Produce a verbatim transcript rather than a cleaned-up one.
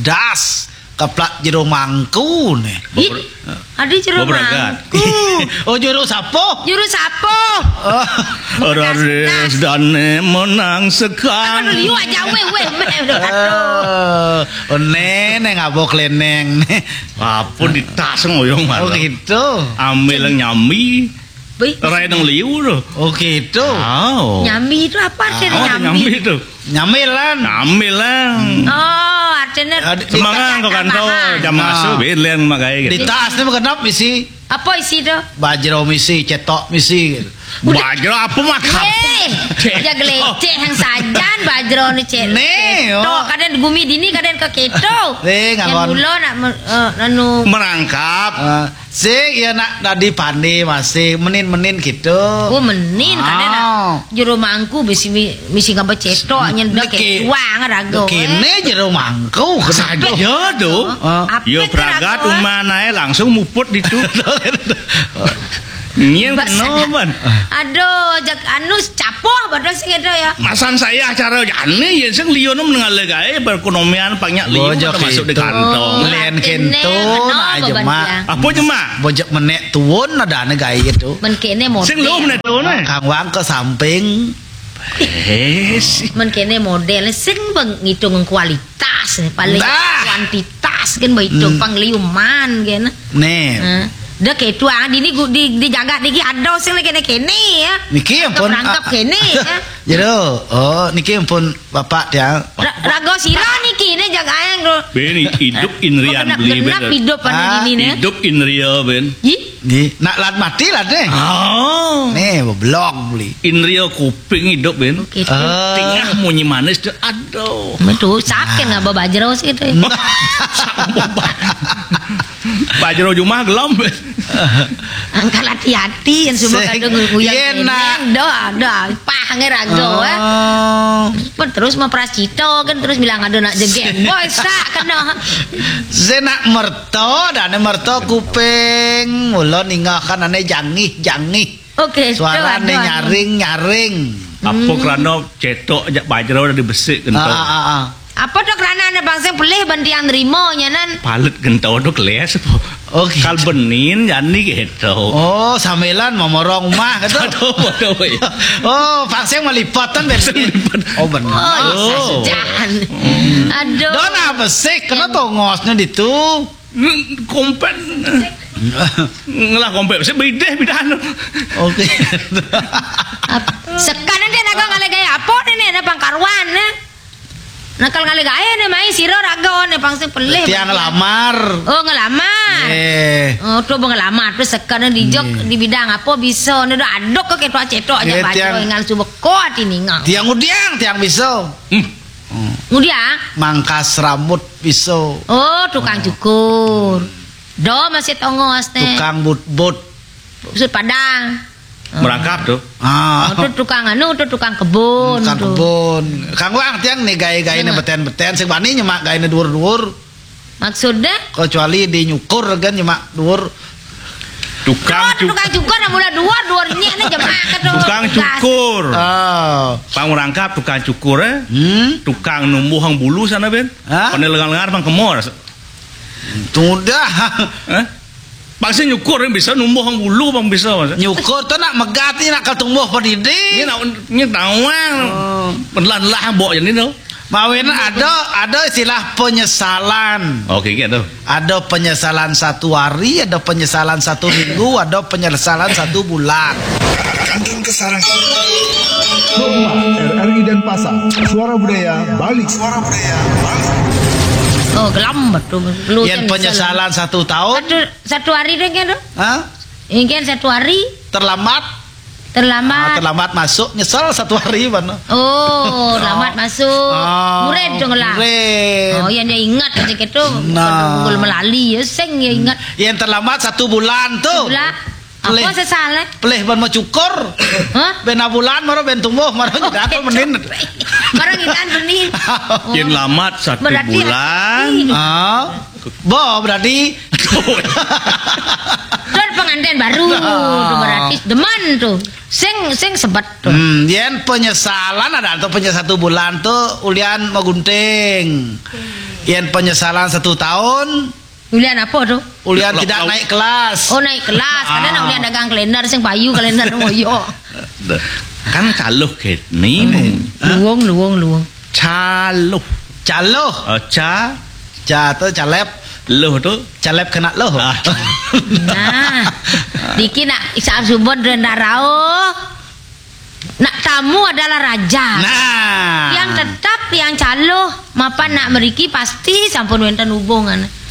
Das, keplak jero mangku nih. Ih, ada jero mangku. Oh, jero sapo? Jero sapo? Oh. Raris dane menang sekan. Aduh, liu aja, weh, weh, weh. Aduh. Oh, nene ngabok leneng. Apa di tas ngoyong malah. Oh, gitu. Ambil nyambi. Rai nang liu tu. Oh, gitu. Oh. Nyambi itu apa artinya? Oh, nyambi itu. Nyamilan. Nyamilan. Oh, artinya semangat kau kantor jam masuk, bilang makai gitu. Di tas ni kenapa isi? Apa isi tu? Bajro misi, cetok misi gitu. Bajro apa makan? Eh, aja geleceh yang sajan bajro ni cetok. Nih, oh. Kadang gumi dini, kadang ke keto. Eh, ngalon. Yang mula nak anu merangkap. Sing ya nak dadi pande masih menin-menin gitu. Oh, menin kadang nak jero mangku misi misi ngapa cetok nyen dak ketuang rago. Kene jero mangku saja. Ya do. Yo pragat umanae langsung muput ditu. Nyen kena ban. Aduh, jak anu capoh badan sing ada ya. Masan saya acara jane ya sing liyo nem nengale gae perekonomian banyak liyo masuk di kantong. Len kento nak jemak. Apa jemak? Bojok menek tuun ada ane gae gitu. Men kene model. Sing lu menek tuun eh. Kang Wang ke samping. Eh, si. Men kene model sing bang ngitung kualitas eh, paling kuantitas kan bang itu pangliuman kan. Nih. Dah kayak itu ah, di, di, di jagat niki ada sing lagi kene ya. Niki ampun. Rangkap kene ya. Jero, oh niki ampun Bapak tiang. Rago sira niki ne jaga ayang tu. Ben hidup inrian beli ben. Genap hidup anu dini ne. Hidup inria ben. Ih. Nggih, nak lat mati lat ne. Oh. Ne blog beli. Inria kuping hidup ben. Tengah munyi manis tu aduh. Metu saken ngapa bajro sih tu. Bajro jumah gelem. Angkal hati-hati yang semua kadang nguyang. Iya nak. Doa doa. Pah ngerago eh. Pun terus memperasito kan terus bilang ada nak jegek. Boy sak kena. Saya nak merto dan merto kuping. Mula ningah kan ane jangih jangih. Oke. Suara ane nyaring nyaring. Apa kerana cetok jak bajro dari besik kentang. Ah, ah, ah. Apa tu kerana ane bangsa pelih bantiang nerima nyanan. Palet kentau tu keles apa? Oke. Kal benin jani gitu. Oh, sambilan momorong rumah gitu. Aduh, bodoh ya. Oh, vaksin melipatan bensin. Oh, benar. Oh, sajan. Aduh. Don apa sih? Kena tongosnya ditu. Kompet. Ngelah kompet. Saya bideh bidan. Oke. Sekarang dia nak ngale gaya apa ni ni ada pangkaruan ni. Nakal ngale gaya ni mai siro rago ni pangsa pelih. Tiang ngelamar. Oh ngelamar. Eh. Oh tu ngelamar tu sekarang di jok di bidang apa bisa ni dah aduk ke ketua cetok aja baca ngal cuba ko hati ninga. Tiang udiang tiang bisa. Hmm. Ngudiang? Mangkas rambut piso. Oh, tukang cukur. Do masih tongos ne. Tukang but-but. Usut Padang. Merangkap tu. Ah. Oh, tu tukang anu, tu tukang kebun. Tukang kebun. Kang Wang tiang ni gaya-gaya ni beten-beten sing bani nyemak gaya ni dur-dur. Maksudnya? Kecuali di nyukur kan nyemak dur. Tukang cukur. Tukang cukur nak mula dua, dua nyek ni jemak ke tu. Tukang cukur. Ah. Pang merangkap tukang cukur eh. Hmm. Tukang numbuh hang bulu sana ben. Ha? Pandai lengar-lengar pang kemor. Tudah. Eh? Pang si nyukur yang bisa numbuh hang bulu pang bisa mas. Nyukur tu nak megat ni nak ketumbuh pedidi. Ini nak ni tawang. Oh. Pelan lah bok jadi tu. Mawin ada ada istilah penyesalan. Oke gitu. Ada penyesalan satu hari, ada penyesalan satu minggu, ada penyesalan satu bulan. Kandang Kesarang. Rumah R R I Denpasar. Suara Budaya Bali. Suara Budaya Bali. Oh, gelam betul. Yang penyesalan satu tahun. Satu, satu hari deh kan tu? Hah? Ingin satu hari. Terlambat. Terlambat. Ah, terlambat masuk, nyesal satu hari mana. Oh, terlambat masuk. Ah, murid dong lah. Murid. Oh, yang dia ingat aja gitu. Nah. Bukan melali ya, sing ya ingat. Yang terlambat satu bulan tu. Bulan. Apa sesale? Pelih ban macukur. Hah? Ben abulan mara ben tumbuh mara nyedat menin. Mara ngidan benih. Yen lamat satu bulan. Ah. Bo berarti. Tur pengantin baru tuh berarti demen tuh. Sing sing sebet tuh. Hmm, yen penyesalan ada tuh penyesalan satu bulan tuh ulian magunting. Yen penyesalan satu tahun Ulian apa tuh? Ulian tidak naik kelas. Oh, naik kelas. Kadang nak ulian dagang kalender sing payu kalender ngoyo. Kan caluh kene. Luwung luwung luwung. Caluh. Caluh. Oh, ca. Ca tuh calep. Luh tuh. Calep kena luh. Ah. Nah, diki nak isap subut rendah rauh. Nak tamu adalah raja. Nah. Yang tetap yang caluh mapan nak meriki pasti sampun wenten hubungan.